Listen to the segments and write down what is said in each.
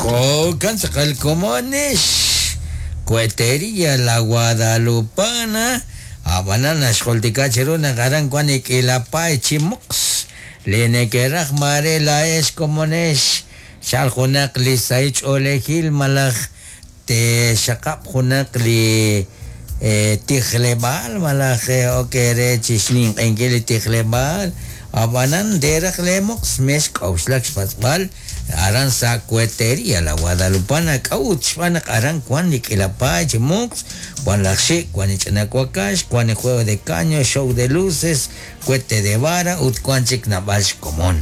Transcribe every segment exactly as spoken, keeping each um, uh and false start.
Jo'kan tz'aqal komonex Cuetería La Guadalupana ab'anan naxjultika chiru naq aran wan ik'ilapay chi moqs li neke'raj mare laex komonex xal junaq li sahil ch'oolejil malaj te xaqab' junaq li tijleb'aal malaj ok re chixninq'enkil li tijleb'aal ab'anan teraj le moqs mex k'awxlak xpatz'b'al aran sa Cuetería La Guadalupana k'awut xb'aan naq aran wan li k'ilapay chi moqs wan laj xik' wan li ch'ina wakax wan li juego de caño show de luces cuete de vara ut wan chik nab'al xkomon.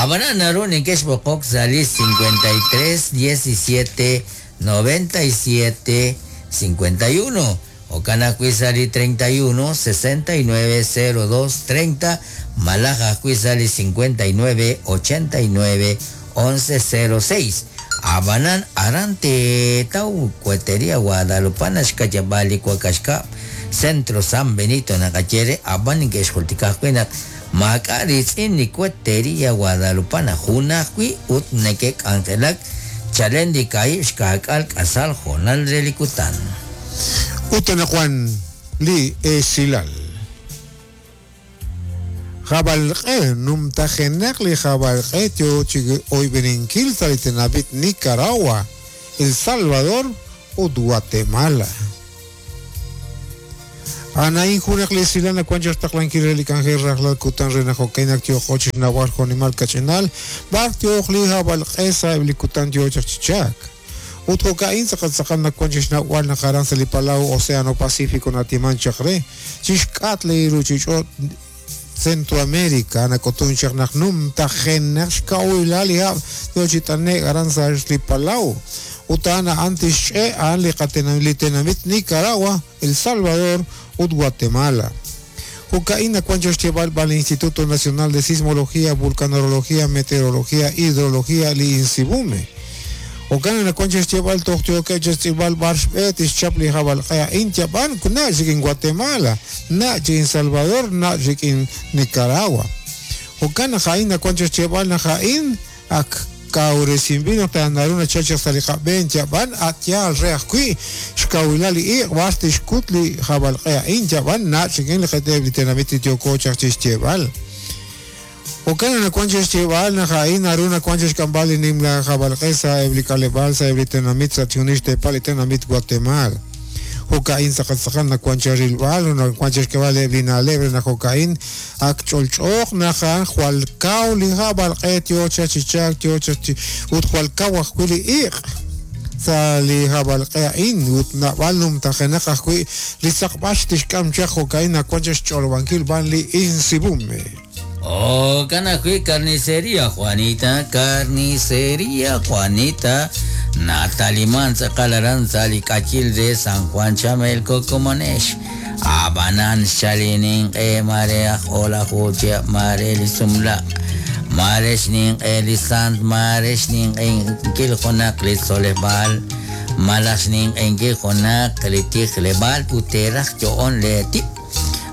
Ab'anan naru neke'xb'oqok sa' li cincuenta y tres diecisiete noventa y siete cincuenta y uno jo'kan ajwi' sa' li treinta y uno sesenta y nueve cero dos treinta malaj ajwi' sa' li cincuenta y nueve ochenta y nueve once cero seis. Ab'anan aran teetaw Cuetería Guadalupana xkayab'al li wakaxkab' Centro San Benito naqaye re ab'an neke'xjultika ajwi' naq maak'a' ritz'in li Cuetería Guadalupana jun ajwi' ut neke'k'anjelak chalen li kaib' xka'k'al k'asal jonal re li kutan. Ut anaqwan li esilal. Jabalq'e numtajenaq li jabalq'e yo chi oyb'eninkil sa' li tenamit Nicaragua, El Salvador ut Guatemala. Anain junaq li esilal nakuan xtaqlankil re li k'anjel rajlal kutan re naq jo'kainak tioq'o chi xnawal jonimal kach'inal b'ar tioq li jabalq'e sa' eb' li kutan yo chaq chichak. Ut jo'ka'in tz'aqal tz'aqal nakuan chi xnawal naq aran sa' li Palau Océano Pacífico natiman chaq re chixk'at li ruchich'och' Centroamérica nak'utun chaq naq numtajenaq xk'a'uylal li hab' yo chi t'anek aran sa' li Palau. Ut a'an a'an tixch'e a'an li qatenamit li tenamit Nicaragua, El Salvador ut Guatemala. Jo'ka'in nakuan xyeb'al b'al Instituto Nacional de Sismología, Vulcanología, Meteorología, Hidrología li INSIVUME. Jo'kan nakuan xyeb'al toj tiokej xtz'ib'al b'ar xb'e tixchap li jabalq'e a'in yab'an na' chik en Guatemala, na' chik en Salvador, na' chik en Nicaragua. Jo'kan naq a'in nakuan xyeb'al naq a'in ak kawresinb'il naq ta'naru nachal sa' li qab'een yab'an at yaal re ajwi' xkawilal li iq' b'ar tixkut li jabalq'e a'in yab'an na' chik en li qeteb' li tenamit tioko chaq chixyeb'al. Jo'kan nakuan xyeb'al naq a'in naru nakuan xk'amb'al li nimla jabalq'e sa' eb' li k'aleb'aal sa' eb' li tenamit sa' chunix teepal li tenamit Guatemala. Jo'ka'in tz'aqal tz'aqal nakuan xrilb'al nakuan xk'eb'al eb' li na'leb' re naq jo'ka'in ak ch'olch'ooq naq a'an jwal kaw li jabalq'e yo chaq chichak yo chaq chi ut jwal kaw ajwi' li iq' sa' li jabalq'e a'in ut nab'al numtajenaq ajwi' li tz'aqb'al tixk'am chaq jo'ka'in nakuan xch'olob'ankil b'an li INSIVUME. Oh, kanajwi carnicería Juanita, carnicería Juanita, Nataliman tz'aqal aran sa' li k'achil re San Juan Chamelco komonex. Ab'anan xchalininq'e mare aj olaju chihab' mare li sumlaq, mare xninq'e li sant, mare xninq'enkil junaq li tzoleb'aal, malaj xninq'enkil junaq li tijleb'aal ut teraj yo'on le tib'.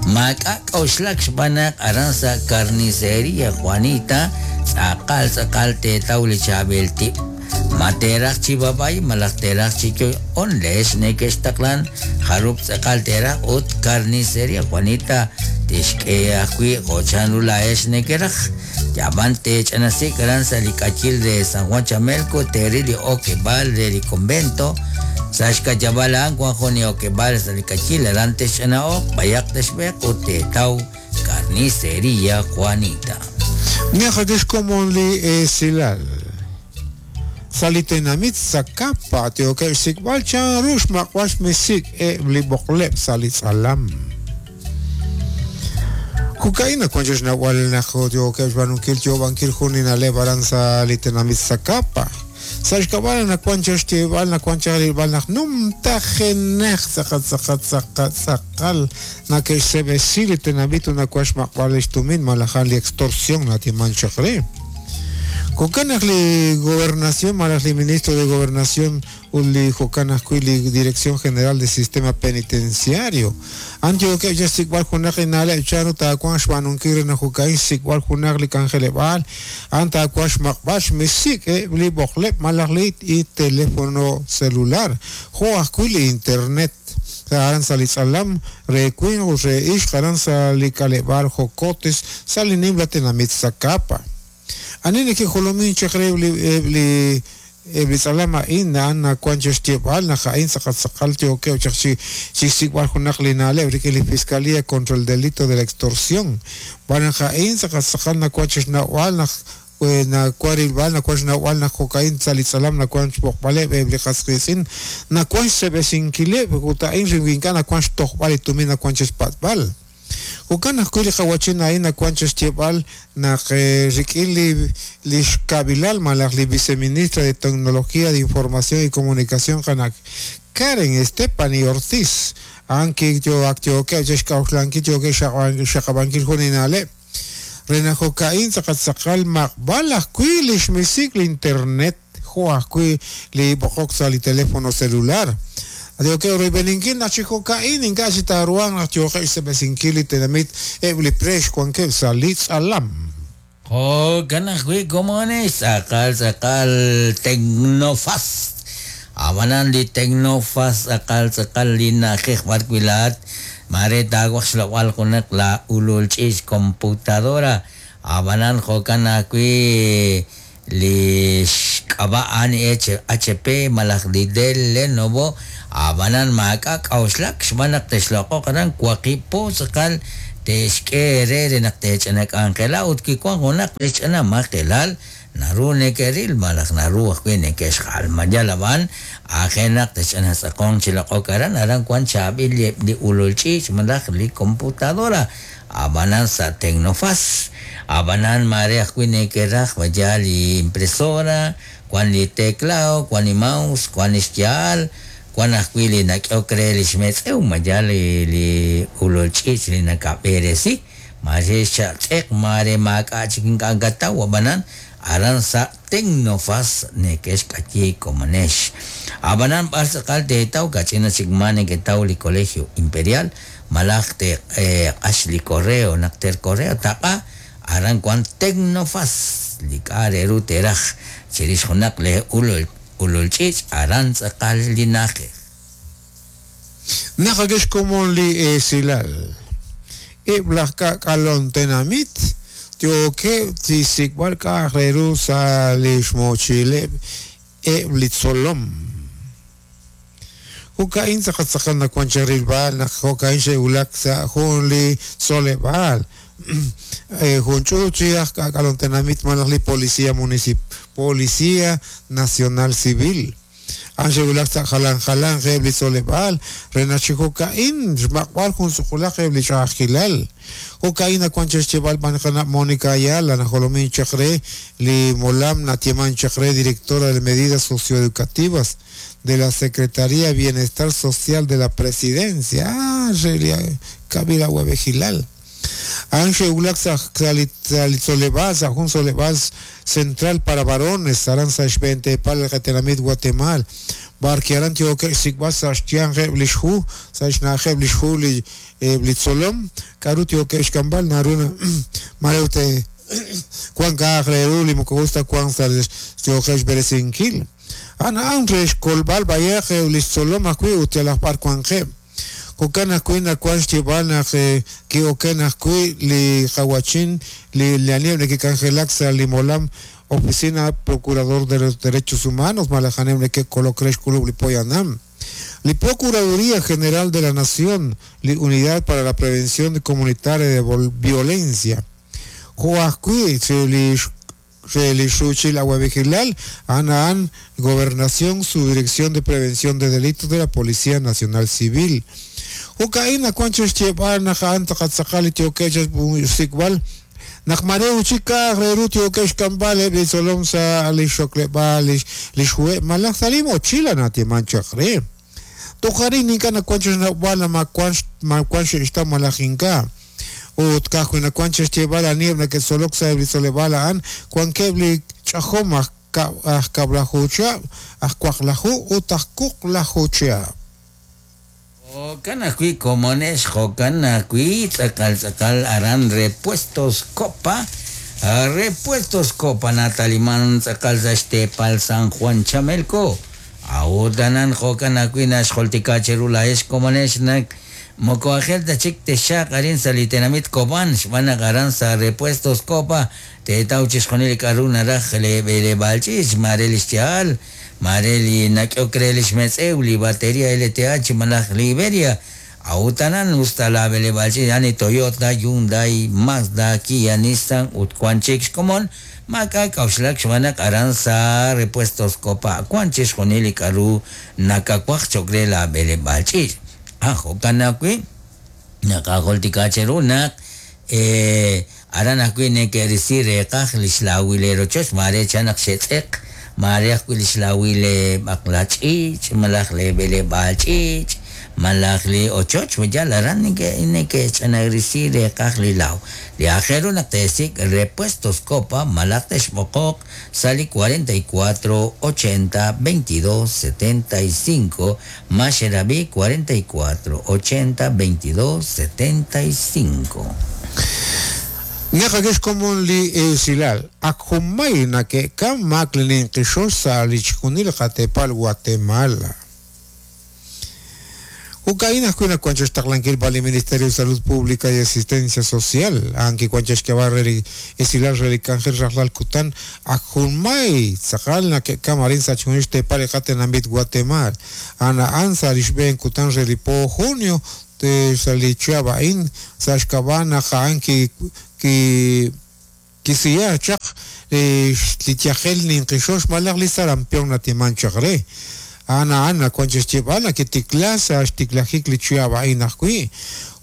Maak'a' k'awxlak xb'aan naq aran sa' carnicería Juanita tz'aqal tz'aqal teetaw li chaab'il tib'. Ma teraj chi babay malaj teraj chi yo'on leex neke'xtaqlan jarub' tz'aqal teraj ut carnicería Juanita tixk'e ajwi' jo' chanru laex neke'raj. Yab'an tech'anasik aran sa' li k'achil re San Juan Chamelco teril li okeb'aal re li convento. Sa' xkayab'al a'an wan jun li okeb'aal sa' li k'achil aran texch'ana'oq b'ayaq texb'eq ut teetaw carnicería Juanita. Neqakix komon li esilal. Sa' li tenamit Zacapa tiokeb' xsik'b'al chanru xmaq'b'al xmisik eb' li b'oqleb' sa' li tz'alam. Jo'ka'in nakuan xnawal naq tiokeb' xb'aanunkil yoob'ankil jun li na'leb' aran sa' li tenamit Zacapa. Sa' xk'ab'al nakuan xyeb'al nakuan rilb'al naq numtajenaq tz'aqal tz'aqal tz'aqal tz'aqal nake'xseb'esi li tenamit ut nakuan xmaq'b'al li xtumin malaj li extorsión natiman chaq re. Jo'kan naq li gobernación malaj li ministro de gobernación ut li jo'kan ajwi' li Dirección General del Sistema Penitenciario an yookeb' chi xsik'b'al junaq li na'leb' chanru taawanq xb'aanunkil re naq jo'ka'in xsik'b'al junaq li k'anjeleb'aal an taawanq xmaq'b'al xmisik' eb' li b'oqleb' malaj li teléfono celular jo' ajwi' li internet aran sa' li tz'alam re winq ut re ixq aran sa' li k'aleb'aal Jocotes sa' li nimla tenamit Zacapa. Ani nekejolomin chaq re li li li tz'alam a'in a'an nawank chi xyeeb'al naq a'in tz'aqal yookeb' chaq chi chi xsik'b'al junaq li na'leb' rik'in li Fiscalía contra el delito de la extorsión. B'an naq a'in tz'aqal tz'aqal nawank chi xnawb'al naq nawank rilb'al nawank xnawb'al naq jo'ka'in sa' li tz'alam nawank xb'oqb'aleb' eb' li qas qiitz'in nawank xseb'esinkileb' ut a'in ink'a' nawank xtojb'al li tumin nawank chi xpatz'b'al. Jo'kan ajwi' li qawachin a'in nawank chi xyeeb'al naq rik'in li li xkab'ilal malaj li viceministra de Tecnología de Información y Comunicación qana Karen Stephanie Ortiz a'an kiyo'ak yookeb' chi xk'a'uxlankil yookeb' xaqab'ankil jun li na'leb' re naq jo'ka'in tz'aqal tz'aqal maqb'al ajwi' li xmisik li internet jo' ajwi' li b'oqok sa' li teléfono celular. Yookeb' royb'eninkil naq chi jo'ka'in ink'a' chi taaruhanq naq yooqeb' xseb'esinkil li tenamit eb' li preex wankeb' sa' li tz'alam. Jo'kan ajwi' komones tz'aqal tz'aqal Tecnofast. Ab'anan li Tecnofast tz'aqal tz'aqal li na'ajej b'ar wi' laa'at mare taawaj xloq'b'al junaq la ulul ch'iich computadora. Ab'anan jo'kan ajwi' li xk'ab'a' a'an H P malaj li Dell Lenovo. Ab'anan maak'a' k'a'uxlak xb'aan naq texloq'oq aran waqib' po tz'aqal texk'e re re naq tech'ana k'anjela ut kiwank junaq lixch'ana majelal naru neke'ril malaj naru ajwi' neke'xjalmayal ab'an aajel naq tech'ana tz'aqonq chi loq'ok aran aran wank chaab'il li ulul ch'iich malaj li computadora ab'anan sa' Tecnofast. Ab'anan mare ajwi' neke'raj vaya li impresora wan li teclado wan li mouse wan li xyaal wan ajwi' li nak'ehok re li xmetz'ew maya li li ulul ch'iich li nakab'eresi mare xatz'eq mare maak'a' chik ink'a' kataw ab'anan aran sa' Tecnofast neke'xk'ayi komonex. Ab'anan b'ar tz'aqal teetaw kach'ina chik ma neketaw li Colegio Imperial malaj te q'ax li correo naq ter correo taq'a aran wan Tecnofast li k'a' re ru teraj chirix junaq le ulul ulul ch'iich aran tz'aqal li na'ajej. Naq akexkomon li esilal eb' laj k'ak'alon tenamit yookeb' chi xsik'b'al k'a'aq re ru sa' li xmochileb' eb' li tzolom. Jo'ka'in tz'aqal tz'aqal nawank chi rilb'al naq jo'ka'in xe'wulak sa' jun li tzoleb'aal jun ch'uut chi aj k'ak'alon tenamit malaj li Policía Municip Policía Nacional Civil. An xe'wulak sa' jalan jalan eb' li tzoleb'aal re naq chi jo'ka'in xmaq'b'al jun suqulaq eb' li ch'a'ajkilal. Jo'ka'in nawank chi xyeeb'al b'an qana' Mónica Ayala najolomin chaq re li Molam natieman chaq re directora de Medidas Socioeducativas de la Secretaría de Bienestar Social de la Presidencia. Ah, Kabila Huevejilal. An xe'wulak sa' li tzoleb'aal sa' jun tzoleb'aal central para varones aran sa' xb'eentepal li Guatemala barki aran yookeb' xsik'b'al sa' xyanq eb' li xhu sa' xna'ajeb' li xhu li li tzolom k'aru yookeb' xk'amb'al naru mare ut wank k'a'aq re ru li moko us ta wank sa' yookeb' xb'eresinkil. An a'an re xkolb'al b'ayaq eb' li xtzolom ajwi' ut yalaq b'ar wanqeb'. Jo'kan ajwi' nawank xyeeb'al naq ki'oken ajwi' li qawachin li li neke'k'anjelak sa' li molam Oficina Procurador de los Derechos Humanos malaj anem neke'kolok re xk'ulub' li poyanam. Li Procuraduría General de la Nación, li Unidad para la Prevención Comunitaria de Violencia. Jo ajwi' li li xuchil Aguavigilal, Ana Gobernación, Subdirección de Prevención de Delitos de la Policía Nacional Civil. Jo'ka'in nawank chi xyeeb'al naq a'an tz'aqal tz'aqal li yookeb' xsik'b'al naq mare uchik k'a'aq re ru yookeb' xk'amb'al eb' li tzolom sa' li xokleb'aal li xhuheb' malaj sa' li mochila natieman chaq re. Toj arin ink'a' nawank chi xnawb'al ma wank xe'xtaw malaj ink'a'. Ut ka'ajwi' nawank chi xyeeb'al aniheb' neke'tzolok sa' eb' li tzoleb'aal a'an wankeb' li ch'ajom aj kab'laju chihab' aj waqlaju ut aj wuqlaju chihab'. Jo'kan ajwi' komonex, jo'kan ajwi' tz'aqal tz'aqal aran Repuestos Copa, Repuestos Copa nataliman tz'aqal sa' xteepal San Juan Chamelco. A'ut anan jo'kan ajwi' naxjultika cheru laa'ex komonex naq moko ajel ta chik texaq arin sa' li tenamit Cobán, xb'aan naq aran sa' Repuestos Copa teetaw chixjunil li k'a'ru naraj leeb'eleb'aal ch'iich', mare li xya'al, mare li nak'ehok re li xmetz'ew, li batería L T H malaj li Iberia. A'ut anan usta laab'eleb'aal ch'iich' ani Toyota, Hyundai, Mazda, Kia, Nissan ut wan chik xkomon, maak'a' k'a'uxlak xb'aan naq aran sa' Repuestos Copa wan chixjunil li k'a'ru nakawaj cho'q re laab'eleb'aal ch'iich'. Ah, jo'kan ajwi' naqajultika cheru naq eh, aran ajwi' neke'risi reeqaj li xlawil leerochoch, mare chan naq xe'tz'eq, mare ajwi' li xlawil leeb'aqla ch'iich', malaj leeb'eleb'aal ch'iich', malaj li ochoch, yal aran neke' neke'ch'anarisi reeqaj li law. Li aajel ru naq teesik' Repuestos Copa malaj texb'oqoq sa' li cuarenta y cuatro ochenta veintidós setenta y cinco, Maxerabi cuarenta y cuatro ochenta veintidós setenta y cinco. Naqakex komon li esilal ak jumay nake'kam mak lininqixox sa' li chjunil qatepal Guatemala. Ukaina ajwi' nakuanchax taqlankil pa li Ministerio de Salud Pública y Asistencia Social, anki kuanchax kebarreri esilal relikanjel rajlal kutan ak jumay tzaqal nake'kam arin sa' chjunil xtepal qatenamit Guatemala. Ana ansa lixb'een kutan relipo junio te salichiabain sa' xkab'an anki ki kisiya chaq li tyajel ninqixox malaj li sarampion natiman chaq re. Ana ana kuanchax chib'al kitikla sa' xtiklajik li chiabain ajwi'.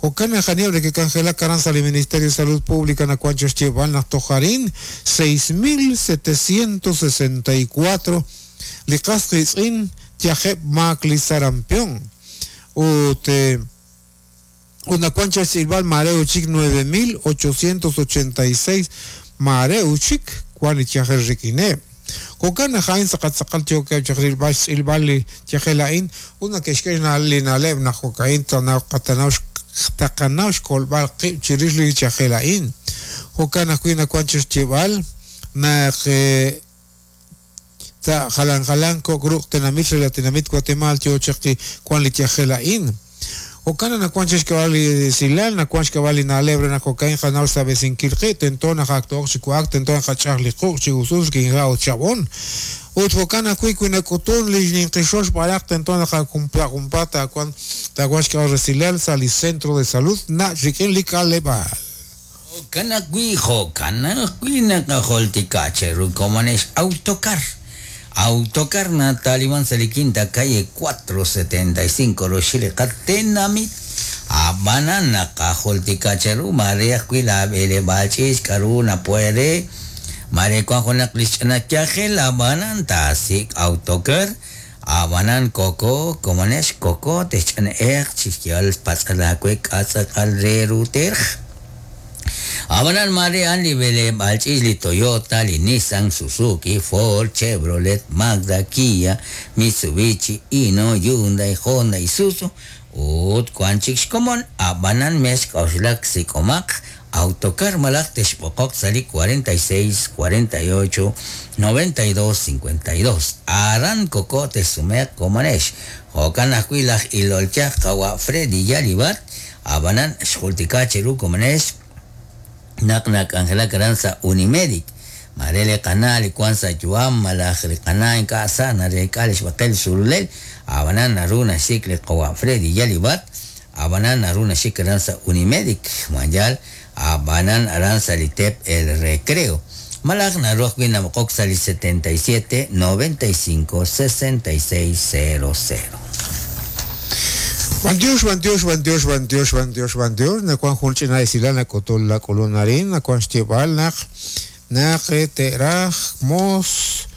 Jo'kan ajanieb' que canjela karan sa' li Ministerio de Salud Pública na kuanchax chib'al naq tojarin seis mil setecientos sesenta y cuatro li qas qitz'in tyajeb' maak li sarampion. Ut una cuancha silval mareo chic nueve mil ochocientos ochenta y seis mareo chic cuan ichajel riquine. Jo'kan jain saqatzaqal tioke chajril bash silval chajelain una que xkena linaleb na jocain tanaw qatanaw taqanaw xkolbal qib chirixli chajelain. Jo'kan ajwi' cuancha chival na ta jalan jalan kokruq tenamit relatinamit Guatemala tio chaqi cuan li chajelain. Okana na kuanchax kabali silal, na kuanchax kabali na lebre na kokain janaw sabesin kilqi, tentona jaktoq chikuak, tentona jachaj liquq chigusus kinjao chabón. Ut jokana kui kuina kutun li ninqixox balaq tentona jakumpla kumpata kuan takuanchax kabali silal sali centro de salud na rikin likalebal. Jokana kui jokana kui nakajoltika cheru komanex autocar. Autocar Nataliman Saliquinta, calle cuatro setenta y cinco, Rochile, Catenamit, Habana, Nakajoltika, Cheru, María, Cuila, Bele, Bachis, Karuna, Puede, María, Cuajona, Krishna, Chajel, Habana, Tasik, Autocar, Habanan, Coco, Comanesh, Coco, Techan, Er, Chichial, Pasalacuec, Azacal, Reruter. Abanan mare an li bele balchis li Toyota, li Nissan, Suzuki, Ford, Chevrolet, Mazda, Kia, Mitsubishi, Hino, Hyundai, Honda, Isuzu, ut kuan chik xkomon, abanan mes k'oxlak sikomaq, autocar malaj texb'oqoq sali cuarenta y seis, cuarenta y ocho, noventa y dos, cincuenta y dos. Aran koko tesumeq komanex. Jo'kan ajwi' laj ilolchaj qawa Freddy Yalibat, abanan xjultika cheru komanex, naq nak'anjela karan sa Unimedic. Marele qana li kuan sa yuam malaj li qana ink'a' sa narek'a li xb'aqel sululel, abanan naru naxik li qawa Freddy Yalibat, abanan naru naxik karan sa Unimedic, mayal abanan aran sa li Tep El Recreo. Malaj naru ajwi' namqok sa li setenta y siete, noventa y cinco, sesenta y seis, cero cero. Bandios, bandios, bandios, bandios, bandios, bandios. Na kuan junchi na isila na kotol la kolonarin, na kuan xtibal na na teraj mos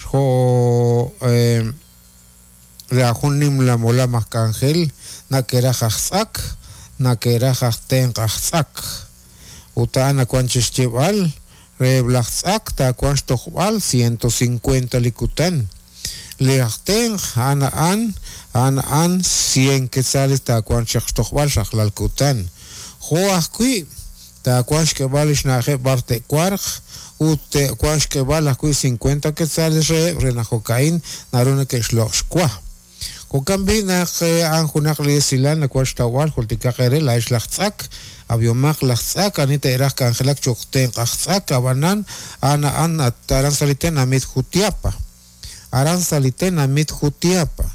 jo eh, la junim la mola mascangel na keraj axak na keraj axten axak. Uta na kuan xtibal Reheb' laj tz'ak taawanq xtojb'al ciento cincuenta li kutan. Li aj tenq a'an a'an a'an a'an cien quetzales taawanq chaq xtojb'al rajlal kutan. Jo' ajwi' taawanq xk'eeb'al li xna'ajeb' b'ar te'warq ut te'wanq xk'eeb'al ajwi' cincuenta quetzales reheb' re naq jo'ka'in naru neke'xloq' xwa. Jo'kan b'i' naq a'an junaq li esilal nawank xtawb'al jultikaq eere laa'ex laj tz'ak, ab'iomaq laj tz'ak ani te'raj k'anjelak cho'q tenq aj tz'ak ab'anan a'an a'an aran sa' li tenamit Jutiapa. Aran sa' li tenamit Jutiapa.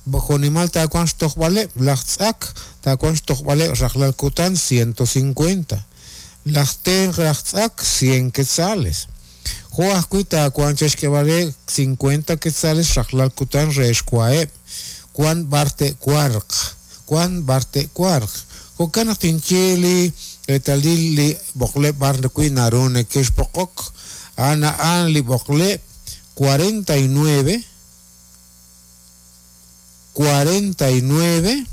Jo'nimal taawanq xtojb'aleb' laj tz'ak taawanq xtojb'aleb' rajlal kutan ciento cincuenta. Laj tenq laj tz'ak cien quetzales. Jo' ajwi' taawanq chexk'eeb'aleb' cincuenta quetzales rajlal kutan re xwaheb'. Wan b'ar te'warq, wan b'ar te'warq. Jo'kan naq tinye li reetalil li b'oqleb' b'ar wi' naru neke'xb'oqok. A'an a'an li b'oqleb' cuarenta y nueve, cuarenta y nueve,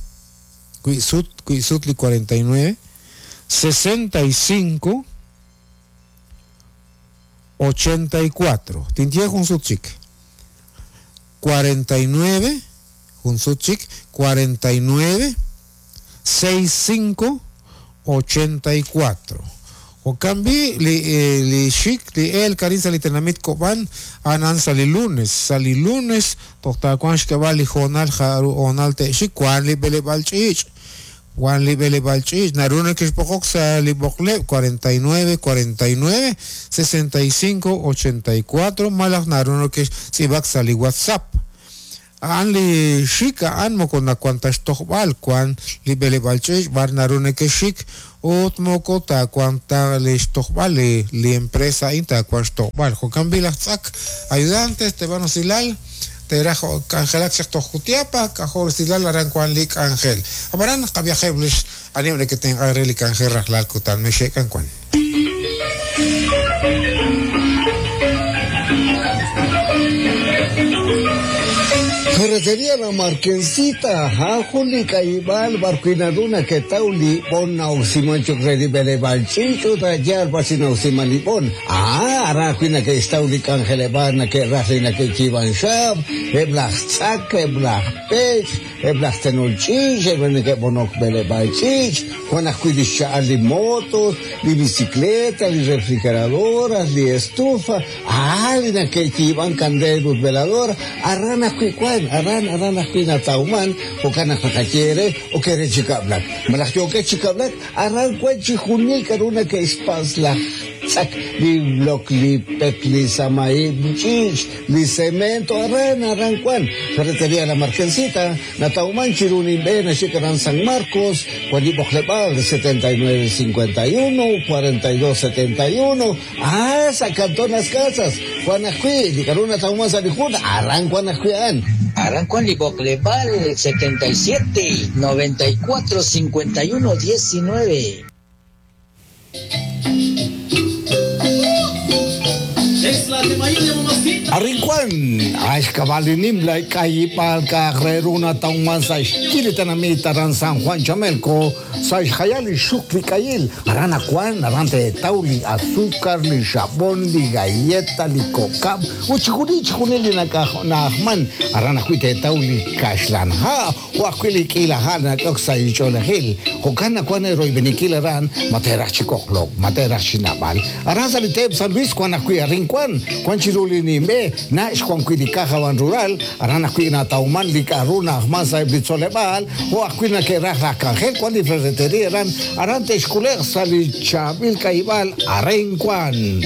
wi' sut, wi' sut li cuarenta y nueve, sesenta y cinco, ochenta y cuatro. Tinye jun sut chik. cuarenta y nueve, jun sut chik, cuarenta y nueve, seis cinco, ochenta y cuatro. Jo'kan b'i' li, eh, li xik li el karin sa' li tenamit Kob'an anan sa' li lunes, sa' li lunes toj taawanq xk'eeb'al li joonal jaru honal te'xik wan li b'eleb'aal ch'iich', wan li b'eleb'aal ch'iich' naru neke'xb'oqok sa' li b'oqleb' cuarenta y nueve, cuarenta y nueve, sesenta y cinco, ochenta y cuatro malaj naru neke'xtz'iib'ak sa' li WhatsApp. A'an li xik a'an moko nawank ta xtojb'al wan li b'eleb'aal ch'iich' b'ar naru neke'xik ut moko taawank ta li xtojb'al li, li empresa a'in taawank xtojb'al. Jo'kan b'i' laj tz'ak ayudantes te'b'an usilal te'raj k'anjelak chaq toj Jutiapa k'ajo' usilal aran wan li k'anjel. Ab'anan qab'iyajeb' lix aniheb' neke'tenq'ank re li k'anjel rajlal kutan mexe'k'an wan. Ferretería La Marquesita, Juli Caibal, Barquinaduna, Ketauli, Bon Nausimancho, Redibele Balchicho, Tayar, Basinausimalibón. Ah, Arajina, que Stauli, Cangelebana, que Rajina, que Chivan Shab, Eblach Tzak, Eblach Pech, Eblach Tenolchich, Eblach Bonok Bele Balchich, Juan Ajuilisha, li motos, li bicicleta, li refrigeradoras, li estufa, ah, li que Chivan Candel, velador, Arrana Cuicuán. Aran, aran, ajpina tauman, o kana jajachiere, o kere chikablak. Malaj yo que chikablak, aran cuechi junil karuna que espasla. Tzak, li bloc, li pec, li samaí, chich, li cemento, aran, aran cuan. Ferretería La Marquesita, Natauman, Chirunin Ben, Chicaran San Marcos, Cuanibojlebal, setenta y nueve cincuenta y uno, cuarenta y dos setenta y uno, ah, Sacantón las casas, Juanajui, Licaruna Tauman Salijuna, Aran Juanajuian. Aran Juan Liboklebal, setenta y siete, noventa y cuatro, cincuenta y uno, diecinueve. Arrincuan, Ashkabalinimla, Kayipalka, Reruna, Tauman, Saishkilitanamita, Ran San Juan Chamelco, Saishayali, Shukli, Kayil, Arana Juan, Arante, Tauli, Azúcar, Li Jabón, Li Galleta, Li Cocab, Uchikuni, Chikunili, Nakahman, Arana Juite, Tauli, Kashlan, Ha, Huaquili, Kila, Hana, Oxa, y Cholejil, Jocana, Juan, Roibenikil, Aran, Matera, Chicoclo, Matera, Chinabal, Aran Saliteb, San Luis, Juan, Acuy, Arrincuan, Juan Chiruli, Nimbe, Nash Juan Cuidicaja Van Rural, Arana Cuina Tauman, Licaruna, Ahmasa, Blitzolebal, o Acuina que Raja Cangel, Juan y Ferretería, Aran, Arante Esculer, Salichamil Caibal, Arencuan.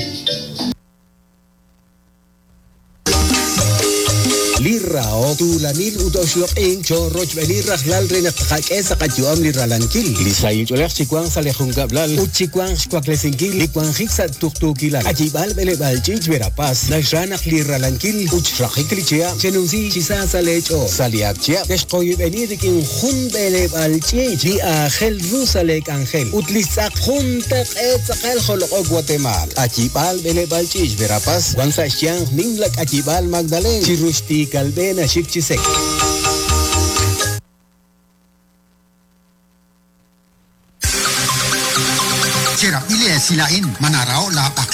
Lirao tulanil utoxloq'in chorrochb'enil rajlal renaqtaqak'e saqatyu'am liralankil lisayilch'olej chikuan salejunkablal utchikuan xkuaklesinkil likuanjik sa tuqtuukilal achib'al b'eleb'al ch'ich verapaz naxranaq liralankil uchrajik lichia chenunsi chisa salech'o saliakchia texqoyib'enil rik'in jun b'eleb'al ch'ich li ajel ru salek'anjel utlistz'aq jun taq'e tz'aqal joloq'ok Guatemala achib'al b'eleb'al ch'ich verapaz wan sa xyanq nimlak achib'al Magdalena chiruxti Calvena Chichisek. Cherapile silain manarao la